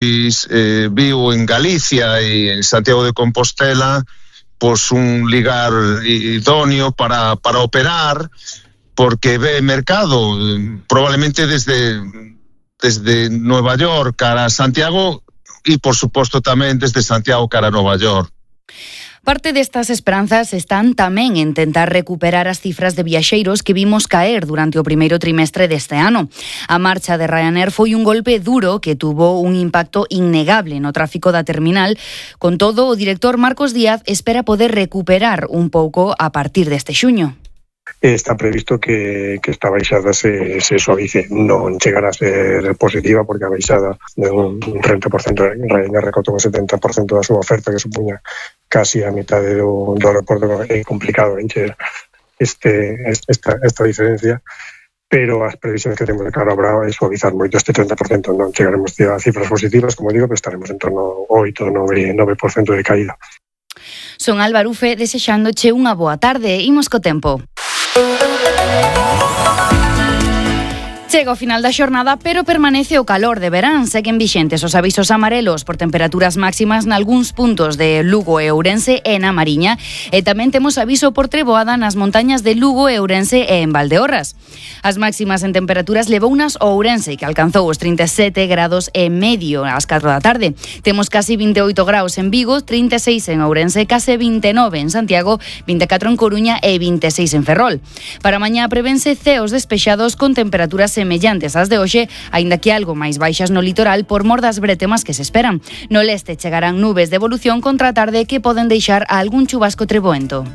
viu en Galicia e en Santiago de Compostela pois un lugar idóneo para operar, porque ve mercado probablemente desde Nueva York cara a Santiago e por suposto tamén desde Santiago cara a Nova York. Parte destas esperanzas están tamén en tentar recuperar as cifras de viaxeiros que vimos caer durante o primeiro trimestre deste ano. A marcha de Ryanair foi un golpe duro que tuvo un impacto innegable no tráfico da terminal. Con todo, o director Marcos Díaz espera poder recuperar un pouco a partir deste xuño. Está previsto que esta baixada se suavice. Non chegará a ser positiva porque a baixada de un 30%, Ryanair recortou un 70% da súa oferta, que supuña casi a metade do aeroporto. É complicado encher esta diferencia, pero as previsións que temos de cara a Brava é suavizar moito este 30%. Non chegaremos a cifras positivas, como digo, pero estaremos en torno ao 8-9% de caída. Son Álvaro Ufe, desexándoche unha boa tarde. Imos co tempo. Chega o final da xornada, pero permanece o calor de verán. Seguen vixentes os avisos amarelos por temperaturas máximas nalgúns puntos de Lugo e Ourense e na Mariña, e tamén temos aviso por treboada nas montañas de Lugo e Ourense e en Valdeorras. As máximas en temperaturas levounas o Ourense, que alcanzou os 37 grados e medio ás 4 da tarde. Temos casi 28 graus en Vigo, 36 en Ourense, case 29 en Santiago, 24 en Coruña e 26 en Ferrol. Para mañá prevense ceos despexados con temperaturas semellantes ás de hoxe, aínda que algo máis baixas no litoral por mor das bretemas que se esperan. No leste chegarán nubes de evolución contra a tarde que poden deixar a algún chubasco treboento.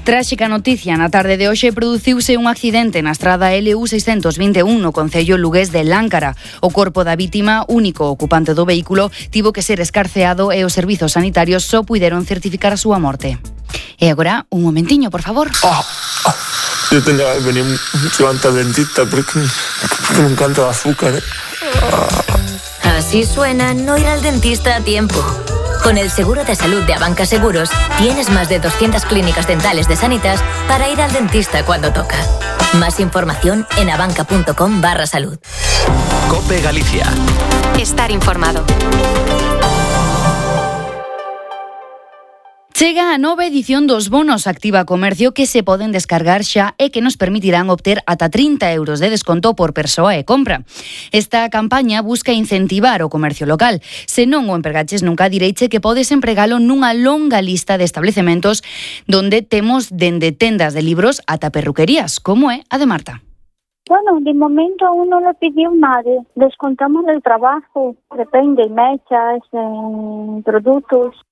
Tráxica noticia, na tarde de hoxe produciuse un accidente na estrada LU 621 no concello lugués de Láncara. O corpo da vítima, único ocupante do vehículo, tivo que ser escarceado e os servizos sanitarios só puideron certificar a súa morte. E agora, un momentiño, por favor. Yo tenía que venir mucho antes al dentista porque me encanta el azúcar. Así suena no ir al dentista a tiempo. Con el seguro de salud de Abanca Seguros, tienes más de 200 clínicas dentales de Sanitas para ir al dentista cuando toca. Más información en abanca.com/salud. COPE Galicia. Estar informado. Chega a nova edición dos bonos Activa Comercio que se poden descargar xa e que nos permitirán obter ata 30 euros de desconto por persoa e compra. Esta campaña busca incentivar o comercio local. Se non o empregaches nunca, direiche que podes empregalo nunha longa lista de establecementos donde temos dende tendas de libros ata perruquerías, como é a de Marta. Bueno, de momento aún no lo pidió nadie. Descontamos el trabajo, depende, mechas, productos.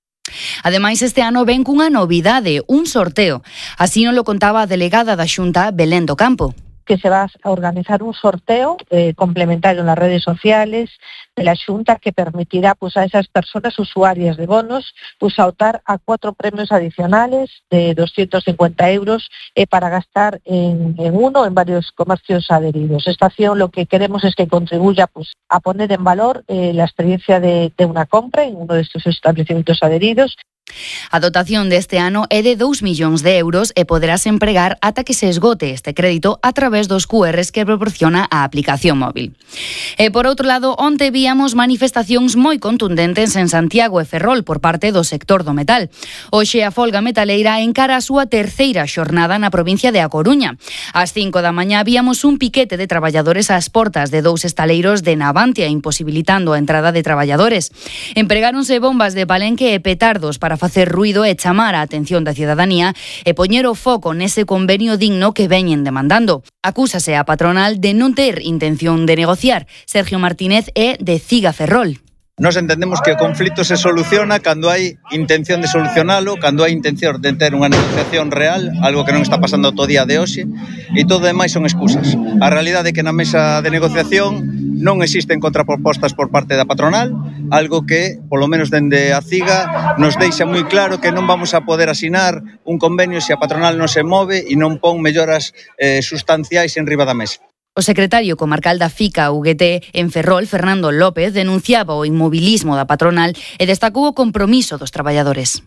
Ademais, este ano ven cunha novidade, un sorteo. Así nos lo contaba a delegada da Xunta, Belén do Campo. Que se va a organizar un sorteo complementario en las redes sociales de la Xunta que permitirá pues, a esas personas usuarias de bonos pues, a optar a 4 premios adicionales de 250 euros para gastar en uno o en varios comercios adheridos. Esta acción lo que queremos es que contribuya pues, a poner en valor la experiencia de una compra en uno de estos establecimientos adheridos. A dotación deste ano é de 2 millóns de euros e poderás empregar ata que se esgote este crédito a través dos QRs que proporciona a aplicación móvil. E por outro lado, onte víamos manifestacións moi contundentes en Santiago e Ferrol por parte do sector do metal. Hoxe a folga metaleira encara a súa terceira xornada na provincia de A Coruña. Ás 5 da mañá víamos un piquete de traballadores ás portas de 2 estaleiros de Navantia, imposibilitando a entrada de traballadores. Empregáronse bombas de palenque e petardos para facer ruido e chamar a atención da cidadanía e poñer o foco nese convenio digno que veñen demandando. Acúsase a patronal de non ter intención de negociar. Sergio Martínez é de Ciga Ferrol. Nos entendemos que o conflito se soluciona cando hai intención de solucionalo, cando hai intención de ter unha negociación real, algo que non está pasando todo día de hoxe, e todo demais son excusas. A realidade é que na mesa de negociación non existen contrapropostas por parte da patronal, algo que, polo menos dende a CIGA, nos deixa moi claro que non vamos a poder asinar un convenio se a patronal non se move e non pon melloras sustanciais en riba da mesa. O secretario comarcal da FICA UGT en Ferrol, Fernando López, denunciaba o inmobilismo da patronal e destacou o compromiso dos traballadores.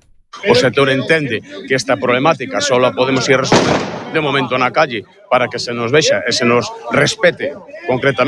o sector entende que esta problemática só a podemos ir resolvendo de momento na calle para que se nos vexa e se nos respete concretamente